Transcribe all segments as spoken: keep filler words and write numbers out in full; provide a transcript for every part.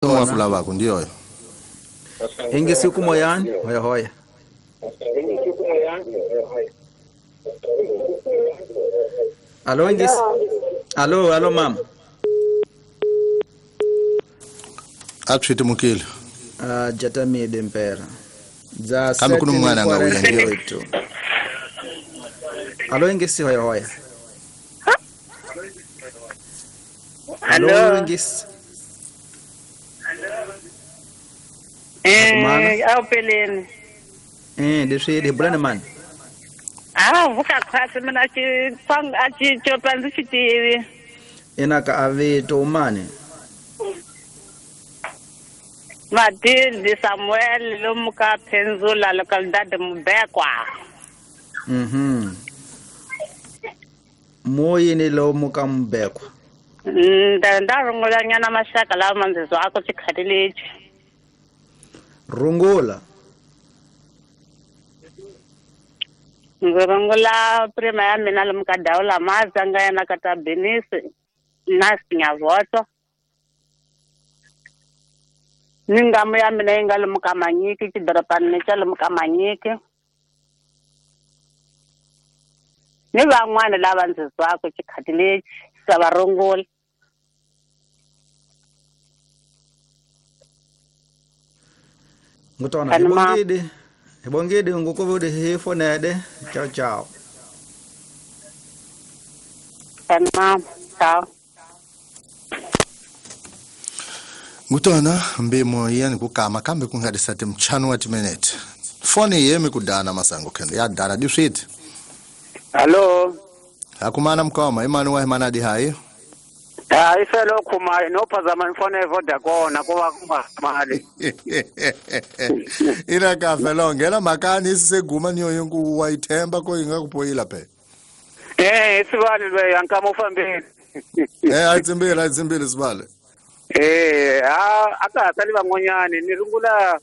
Wa kulavaku ndiyo. Ingisi kumoyani hoya hoya. Alo ingisi. Alo alo mama. Apshiti mukile. Ah jatamide mpera. Za kambe kuno mwana ngawuya ndiyo. Alo ingisi hoya hoya. Alo ingisi. Eh, awupeleni. Eh, leswi hi bulani mani. Ah, vuka khwatsi mina xi tsang a xi copa ndzi xi tivi. Ina ka avito mani. Matilde Samuel lomu ka Penzula localidade Mubekwa. Mhm. Moyini lomu ka Mubekwa. Nda nda rungula nyana maxaka lawa ndzi zwako xikhati lexi. Rungula. Ndzi rungula prima ya mina lomu ka Dawula Mazanga yena ka ta Benisi na Sinyavoto. Ni ngamu ya mina yi nga lomu ka Manyiki xidorobani xa lomu ka Manyiki. Ni van'wana lava ndzi zwako xikhati lexi sa va rungula. Ngutona hibongide hibongide ngukuvude hifonede ciao ciao. Tamam ciao. Ngutona mbimo yani kukama kambe kungadisate mchano wa timinute. Foni yemi kudana masango kende ya dana diswit. Hello. Akumana mkoma imani wa imana di hai. Ah ifelo khuma inophazama ifone eVodacom kuba kungamali. Ina kafe ngena makani iseguma niyo yonku wayithemba ko ingakupoyila phe. Eh isibali lo yankama ufambile. Eh atsimbile atsimbile sibale. Eh ah akasali van'wanyani ni rungula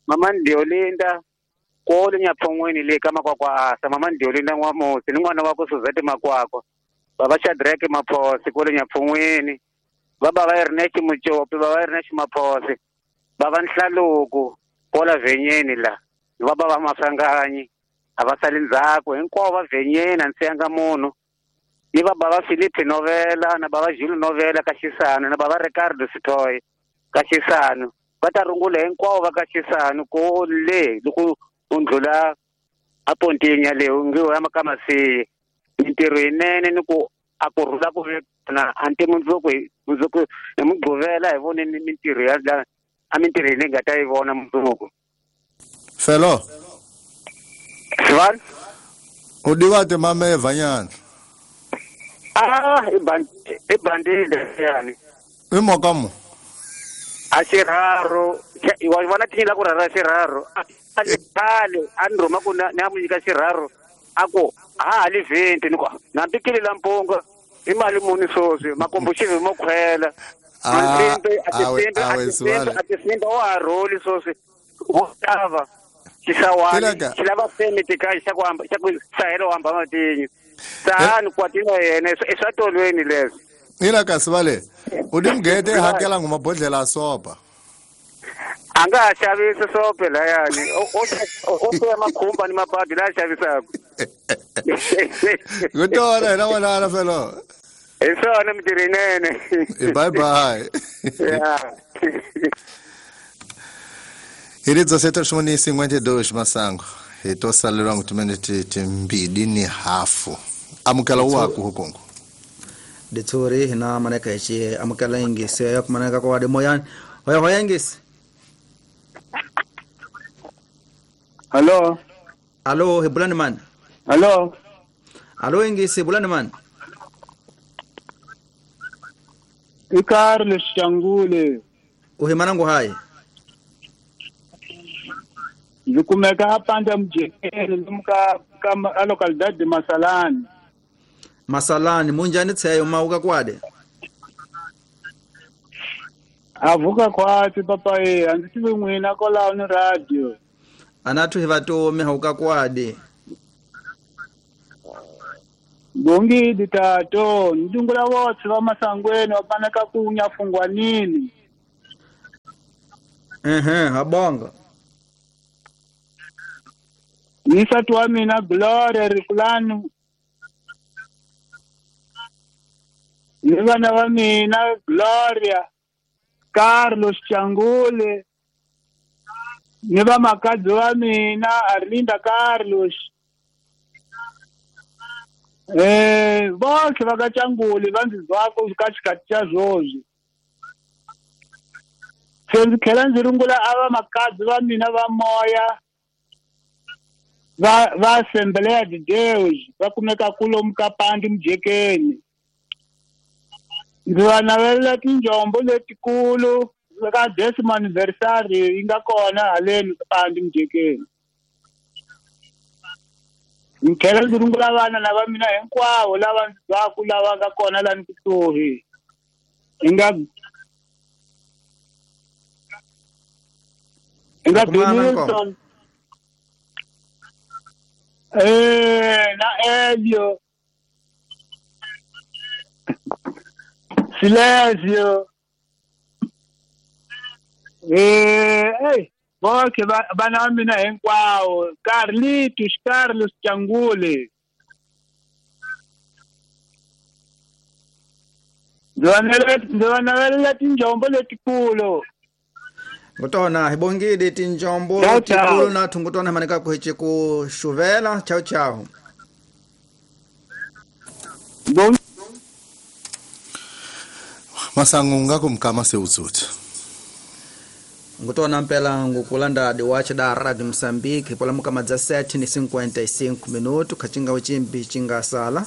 mama Ndiolinda kole nyaphongweni le kama kwa kwa asa mama Ndiolinda n'wamusi ni n'wana wa ku Suzette Makwakwa. Baba Shadrack Maphosi kole nyaphongweni baba va Ernest Muchopi baba Ernest Maphosi baba Nhlaluku kola venyeni la baba va Masanganyi avasali ndzhaku hinkwavo va venyeni a ndzi siyanga munhu ni va baba Philip Novela na baba Jules Novela ka Xisano na baba Ricardo Sitoy ka Xisano va ta rungula hinkwavo va ka Xisano ko le loko u ndlula a Pontinya le u nge ya ka Masiye mintirho yinene ni ku a ku rhula ku na anti mundzuku mundzuku hi Mugqivela hi voneni mintirho ya la a mintirho leyi nga ta yi vona mundzuku. Felo Sivani u divate mameva nyana. Ah i bandi i bandile yani. I mokamu a xirharu wa vona tinyila ku rhara xirharu a khale a ni rhuma ku ni a mu nyika xirharu a ku ha ha li vhenti ni ku nambi kile la mpunga i mali muni sweswi makombo xivi mo khwela a a tisimbi a tisimbi a tisimbi wa ha rholi sweswi wo xava xisawani xi lava permit ka xa ku hamba xa ku sahelo hamba matinyo sahani kwatino yena i swa tolweni leswi. Ina kasi vale u di mugete hakela ngumabhodlela a sopa. A nga ha xavisi sope layani o o makhumba ni mabadi la xavisaka. Ngutona hina n'wana felo. Hi swona mintirho yinene. Bye bye. Yeah. Hi dezessete e cinquenta e dois masango. Hi to salelwa ngutiminete timbili ni hafu. Amukela waku hukongo. Ditsuri hina maneka hichi amukela ingisi ya kumaneka kwa moyani. Hoya hoya ingisi. Hello. Hello, hibulani man. Hello. Hello ingisi bulani man. Ikarle Shangule. Uhimanangu hai. Ndikumeka apanda mjekeni lumka kama localidade Masalani. Masalani munjani tseyo mauka kwade. Avuka kwatsi papa e andzi tivi n'wina kwalaho ni radio. Anathu hi vatomi hauka kwade. Bongidi tato ndungula votse va Masangweni va paneka ku nyafungwanini. Ehe, habonga. Ni nsati wa mina Gloria Rikulani. Ni vana va mina Gloria, Carlos Changule. Ni vamakadzi wa mina Arlinda Carlos. Eh, bonke va ka Changule va ndzi zwaka ka xikati xa swoswi. Se ndzi tlhela ndzi rungula a vamakadzi va mina va moya va va Assembleia de Deus va kumeka kulomu ka Pandi Mujekeni. Ndzi va navelela tinjombo letikulu ka décimo anniversary yi nga kona haleni Pandi Mujekeni. Ndzi tlhela ndzi rungula vana lava mina hinkwavo lava ndzi twaku lava nga kona lani kusuhi. Hi nga hi nga Benilton eh na Elio Silésio eh hey bonke vana va mina hinkwavo Carlitos Carlos Changule. Ndzi va navelela tinjombo letikulu. Ngutona hi bongile tinjombo letikulu na thungutona maneka ku hiche ku xuvela. Ciao ciao. Bon Masango nga kumkama sewutsutsi. Ngutona mpela ngukulanda diwache da Radio Mozambique pola mukama dza sete ni cinquenta e cinco minuto kachinga uchimbi chinga sala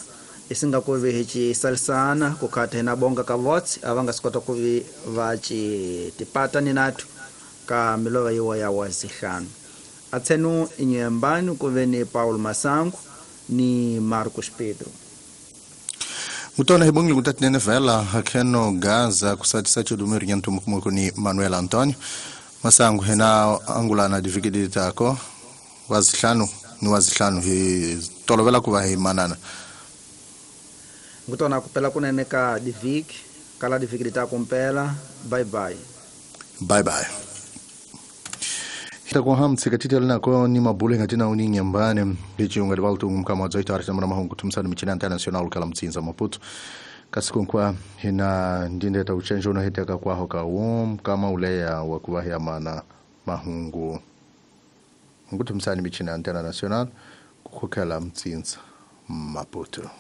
isinga kuvi hichi salisana kukata hina bonga ka vots avanga sikota kuvi vachi tipata ni natu ka milova yiwa ya wazihanu atsenu inyembani kuve ni Paulo Masango ni Marcos Pedro. Ngutona hibongile kutatinene vela akeno Gaza kusati sacho dumiri nyantu mkumoko ni Manuel Antonio Masango hena angulana divikidi tako wazihlanu ni wazihlanu hi tolovela kuva hi manana. Ngutona kupela kunene ka diviki kala diviki tako mpela. Bye bye. Bye bye. Kwa ham tsikatitela nako ni mabule ngatina uni nyambane hichi ungalibaltu mkama zaita arita mwana mahungu tumsani michina international kala mtsinza Maputo kasikunkwa hina ndindeta uchenjo na hiteka kwa hoka um kama uleya wakuwahi amana mahungu ngutumsani michina international kukukela mtsinza Maputo.